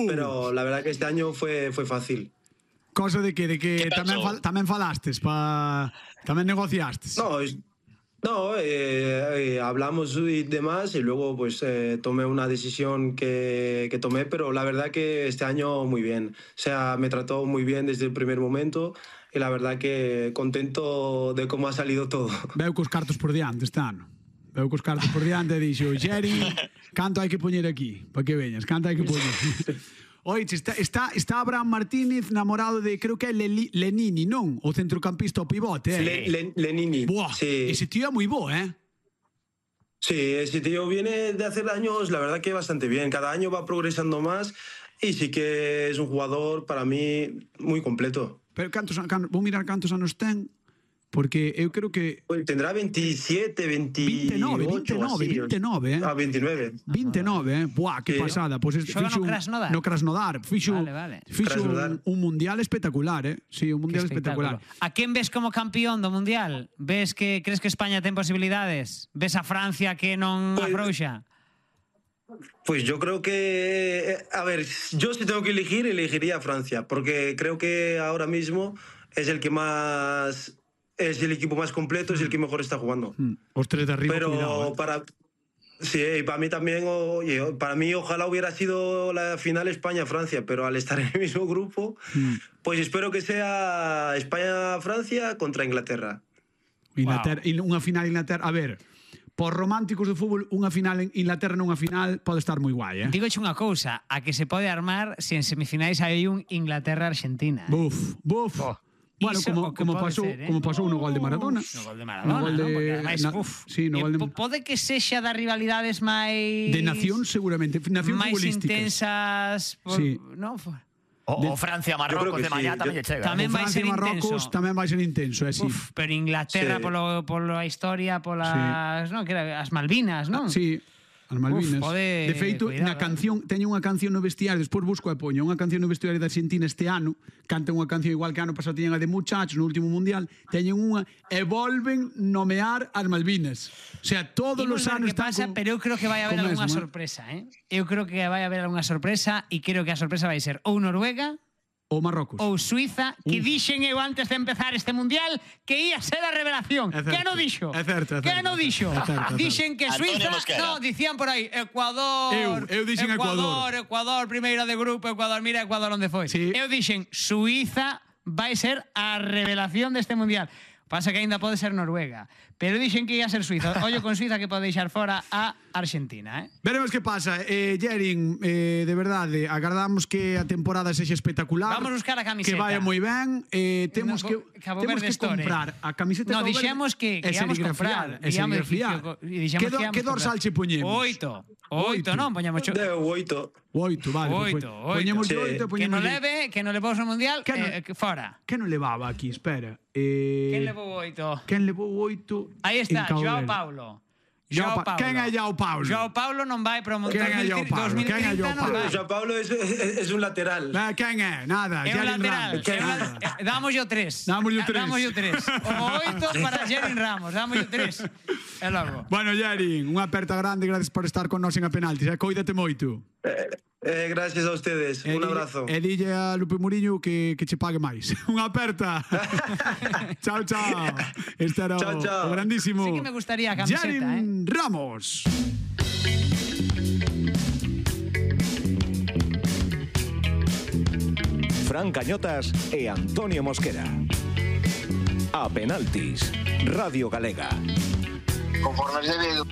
pero la verdad que este año fue fácil. Cosa de que tamén falastes, tamén negociastes. No, hablamos y demás y luego pues tomé una decisión que tomé, pero la verdad que este año muy bien. O sea, me trató muy bien desde el primer momento y la verdad que contento de cómo ha salido todo. Veo cos cartos por diante este ano. Veo cos cartos por diante e dixo, Xeri, canto hai que poñer aquí? Para que veñas, canto hai que poñer? Oiche, está Abraham Martínez namorado de, creo que é Lenini, non? O centrocampista o pivote, Lenini. Buah, sí. Ese tío é moi bo, Sí, ese tío viene de hacer años, la verdad que bastante bien. Cada año va progresando más y sí que es un jugador, para mí, muy completo. Pero vou mirar cantos anos ten, porque eu creo que... Pues tendrá 27, 28... 29, Ah, 29. 29, Buah, que pasada. Pues Xoga no Krasnodar. Fixo un mundial espectacular, Sí, un mundial espectacular. A quen ves como campeón do mundial? Crees que España ten posibilidades? Ves a Francia que non afrouxa? Pues yo creo que... A ver, yo si tengo que elegir, elegiría a Francia, porque creo que ahora mismo es el que más... Es el equipo más completo, es el que mejor está jugando. Os tres de arriba, pero cuidado, Sí, para mí también, para mí ojalá hubiera sido la final España-Francia, pero al estar en el mismo grupo, pues espero que sea España-Francia contra Inglaterra. Unha final Inglaterra, a ver, por románticos do fútbol, unha final en Inglaterra nunha final pode estar moi guai, Digoche unha cousa, a que se pode armar se en semifinais hai un Inglaterra-Argentina. Buf. Bueno, como pasou no gol de Maradona. No gol de Maradona, porque ademais, pode que sexa das rivalidades máis... De nación, seguramente. Nación futbolísticas. Máis intensas... O Francia-Marrocos de mañá tamén lle chega. Tamén vai ser intenso. Tamén vai ser intenso, sí. Pero Inglaterra, pola historia, polas... as Malvinas, non? Sí. As Malvinas. De feito, na canción, teño unha canción no vestiario, despois busco e poño unha canción no vestiario da Argentina este ano, cantan unha canción igual que ano pasado tiñan a de Muchachos no último mundial, teñen unha e volven nomear as Malvinas. O sea, todos os anos están pasa, pero eu creo que vai haber algunha sorpresa, Eu creo que vai haber algunha sorpresa e creo que a sorpresa vai ser ou Noruega ou Marrocos ou Suiza, que dixen eu antes de empezar este mundial que ia ser a revelación. Que non dixo? É certo. Que non dixo? Dixen que Suiza, dicían por aí Ecuador. Eu dixen Ecuador, primeiro de grupo, Ecuador, mira Ecuador onde foi. Eu dixen Suiza vai ser a revelación deste mundial. Pasa que aínda pode ser Noruega, pero dixen que ia ser Suiza. Ollo con Suiza que pode deixar fora a Argentina, Veremos que pasa. Jerin, de verdade, agardamos que a temporada sexa espectacular. Vamos buscar a camiseta. Que vaya moi ben. Temos que comprar a camiseta. No, dixemos que íamos comprar. Que dorsal che poñemos? 8, non? Poñemos 8, vale. 8. Poñemos 8. Que non leve, que non levou ao mundial, fora. Que non levaba aquí? Espera. Quen levou 8? Aí está, Joao Paulo. Quen é Joao Paulo? Joao Paulo non vai para o mundial 2030. Joao Paulo es un lateral. Quen é? Nada. É un lateral. Dámoslle o 3. O 8 para Jerin Ramos. Dámoslle o 3. E logo. Bueno, Jerin, unha aperta grande. Gracias por estar con nós en a penaltis. Coídate moito. Gracias a ustedes. Un abrazo. E dille a Lupe Muriño que che pague máis. Unha aperta. Chao. Este era o grandísimo. Sí que me gustaría a camiseta, Jerin Ramos. Fran Cañotas e Antonio Mosquera. A penaltis. Radio Galega. Conforme se ve